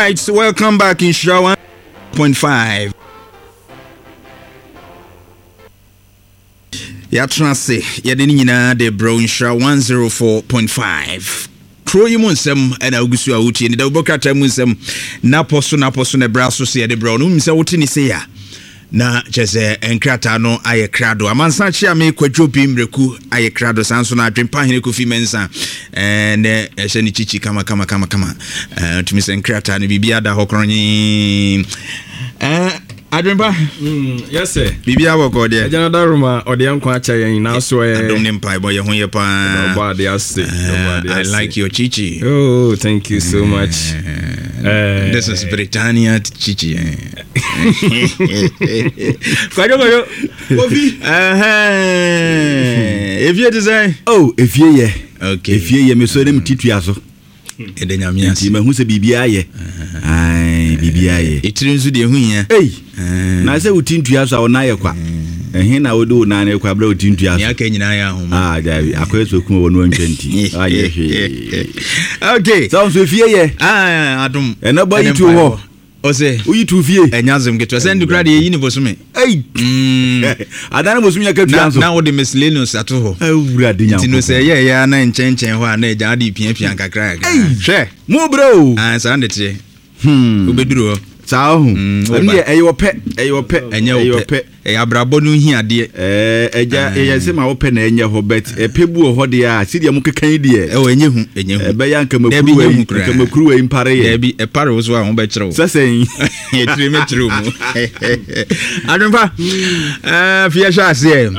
Right, welcome back Nhyira 1.5. Yɛatena ase yɛde ne nyinaa de brɛ Nhyira 104.5. Kuro yi mu nsɛm ɛna wogu so a wotie ne dawubɔ krataa mu nsɛm napɔ so napɔ so na ɛbrɛ so sɛ yɛde brɛ wo no. Wonim sɛ wote ne sei a na kyerɛ sɛ nkrataa no ayɛ krado. Amansan Kyeame Kwadwo Bi Mmerɛku ayɛ krado. Saa nso na Adwempa Hene Kofi Mensah nɛ ɛhyɛ ne kyikyi kama kama kama kama. Tumi sɛ nkrataa no biribi ada hɔ korɔnyee. Adwempa. Yes sir. Biribi abɔkɔ deɛ. Agya no daroma ɔde yɛn nkwa akyɛ yɛn nanso ɛ. Adom ne mpaebɔ yɛ ho yɛ paa. Ɔbɔ ade ase. I like your chichi. Oh, thank you so much. This is Britannia chichi. Kwadwo kwadwo. Kofi. Efie te sɛn? Oh, efie yɛ. Okay. Efie yɛ mesɔ ne me titua so. Ɛda Nyame ase. Nti mahu sɛ biribiara yɛ. Ae, biribiara yɛ. Etiri nso deɛ ɛho hia. Ei, na sɛ wo ti ntua so a wo nan yɛ kwa. Ɛhe na wode wo nan no kɔ abere wo ti ntua so? Nea aka nyinaa yɛ ahoma. Ah, gyae, akɔyɛ sɛ okum wɔ no antwa nti. Anyɛ hwee. Okay. Sɛ nso efie yɛ. Ah, adom. Ɛnɛ bɔ yi tu hɔ. Ɔsɛ. Woyi tu fie. Ɛnyɛ asɛm ketewa. Sɛ ndekura deɛ yɛyi ne bosome. Ei. Adan ne bosome yɛ katua nso. Na wode miscellaneous ato hɔ. Awurade Nyankopɔn. Nti no sɛ ɛyɛ ɛyɛ na nkyɛnkyɛn hɔ a na agya ade piapia nkakra kakra. Hwɛ. Mo brɛ o. Ah, saa na ɛteɛ. Wobɛduru hɔ. Saa ho. Ɛno deɛ ɛyɛ ɔpɛ. Ɛyɛ ɔpɛ. Ɛnyɛ ɔpɛ. Ɛyɛ abrabɔ no hiadeɛ. Ɛɛ ɛgya ɛyɛ sɛ ma wopɛ na ɛnyɛ hɔ but ɛpɛ bu wɔ hɔ deɛ a sɛdeɛ mo keka yi deɛ. Ɛwɔ ɛnyɛ hu ɛnyɛ hu. Ɛbɛyɛ anka makuruwa yi anka makuruwa yi mpare yɛ. Daabi ɛpare wo so a ho bɛkyerɛ wo. Sɛ sɛn. Ɛtiri mɛkyerɛ wo mu. Adwempa ɛɛ fi ɛhyɛ aseɛ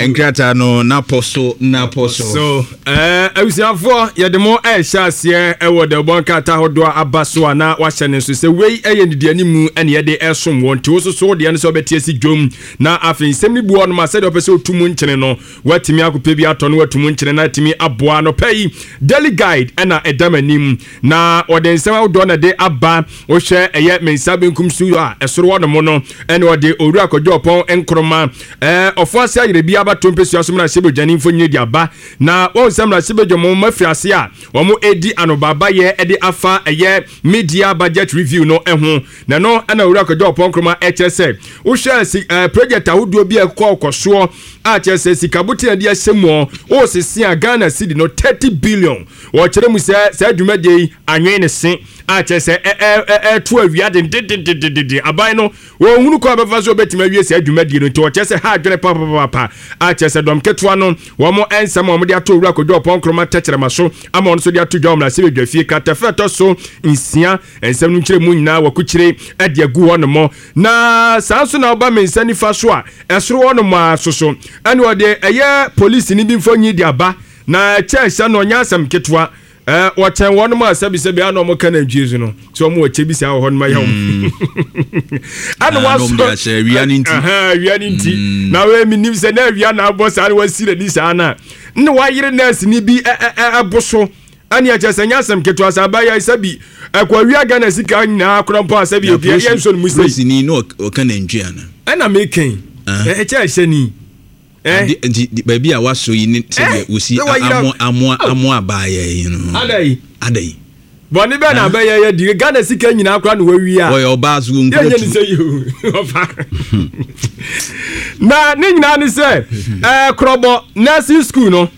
nkrataa no napɔ so napɔ so. So ɛɛ abusuafoɔ yɛde mo ɛhyɛ aseɛ ɛwɔ dɛbɔ nkrataa ahodoɔ aba so a na wahyɛ ne nso sɛ wei ɛyɛ nnidianimu ɛne yɛde ɛsom wɔn nti wososo deɛ no sɛ ɔbɛte asi dwom. Na afei nsɛm no bi wɔ hɔnom a sɛdeɛ ɔpɛ sɛ ɔtu mu nkyene no, watumi akɔpɛ bi atɔ no watu mu nkyene na atumi aboa. Anɔpa yi, Daily Guide na ɛda m'anim, na wɔde nsɛm ahodoɔ na ɛde aba. Wohwɛ ɛyɛ me nsa benkum so a ɛsoro hɔnom no, ɛna ɔde Owura Kwadwo Ɔpɔn Nkrumah, ɛɛ Ɔfoase Ayerɛ bi abato mpesua so mmarahyɛbadwani mfonini de aba. Na wɔn sɛ mmarahyɛbadwa mu afiri ase a wɔredi anobaabayɛ de afa ɛyɛ media budget review no ho. Na ɛno na Owura Kwadwo Ɔpɔn Nkrumah ɛkyerɛ sɛ wohwɛ si ɛɛ project ahodoɔ bi a ɛkɔ kɔ soɔ a kyerɛ sɛ sika boten a ɛde ahyɛ mu ɔ wɔresese a Ghana cedi no 30 billion. Wɔkyerɛ mu sɛ saa dwumadie yi anwen ne se a kyerɛ sɛ ɛ ɛ ɛ ɛto awia dendendendendenden. Aban no wɔnhunu kwan a bɛfa so wɔbɛtumi awie saa dwumadie no nti wɔkyerɛ sɛ ha adwene papapapa a kyerɛ sɛ dɔm ketewa no wɔn nsɛm a wɔde ato Owura Kwadwo Ɔpɔn Nkrumah tɛkyerɛma so ama wɔn nso de ato dwa wɔ mmarahyɛbadwafie kratafa ɛtɔ so nsia. Nsɛm no nkyerɛmu nyinaa wɔakukyire de agu hɔnom. Na saa nso na ɔba me nsa nifa so a, ɛsoro hɔnom ara nso so, ɛna ɔde ɛyɛ polisini bi mfonyin de aba, na ɛkyɛ ɛhyɛ no ɔnyɛ asɛm ketewa. Ɛɛ wɔkyɛn wɔnom a sɛbisɛbi a na wɔn ka nantwie so no, sɛ wɔn wɔ kyɛ bi saa wɔ hɔnom ayɛ wɔn. Ɛna wɔasɔ awia ne nti. Awia ne nti. Mm. Na wɔn emi nim sɛ na awia na abɔ saa na wɔasi n'ani saa na na wɔayere nɛɛse ni bi ɛbo so. Ɛne ɛkyɛ sɛ nyɛ asɛm ketewa sɛ abayɛ sɛ bi ɛkɔ awia Ghana sika nyinaa korɔ mpo a sɛ bi obi ɛyɛ nso no mu sɛ. Polisini no ɔka nantwi ana. Ɛna mekɛn ɛkyɛ ɛhyɛ ni. Ade nti baabi a wasɔ yi ne sɛdeɛ wosi amoa amoa amoa abaayɛ yi no. Ada yi. Ada yi. Bɔne bɛn na abɛyɛ yɛ di Ghana sika nyinaa koraa na wawia. Wɔyɛ ɔbaa so wɔn nkura tu. Yɛnyɛ ne sɛ yi o ɔfa. Na ne nyinaa ne sɛ ɛɛ korɔbɔ nursing school no.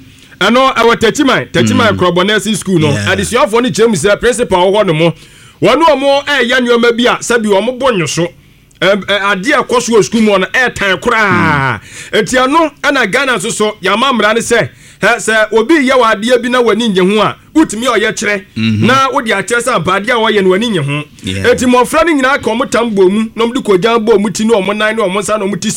Ɛno ɛwɔ Techiman, Techiman Korɔbɔ Nursing School no. Adesuafoɔ no kyerɛ mu sɛ principal wɔ hɔ nom, wɔne wɔn ɛreyɛ nneɛma bi a sɛbi wɔn bo nnwo so. Adeɛ a ɛkɔ so wɔ sukuu mu hɔ no ɛretan koraa. Nti ɛno ɛna Ghana nso so yɛama mmara no sɛ sɛ obi reyɛ wɔ adeɛ bi na w'ani nnye ho a, wotumi ɔyɛ kyerɛ na wode akyerɛ sɛ ampa adeɛ a wɔyɛ no w'ani nnye ho. Nti mmɔfra no nyinaa ka wɔn tam bɔ mu na wɔde kɔgyan bɔ wɔn ti ne wɔn nan ne wɔn nsa na wɔn ti si.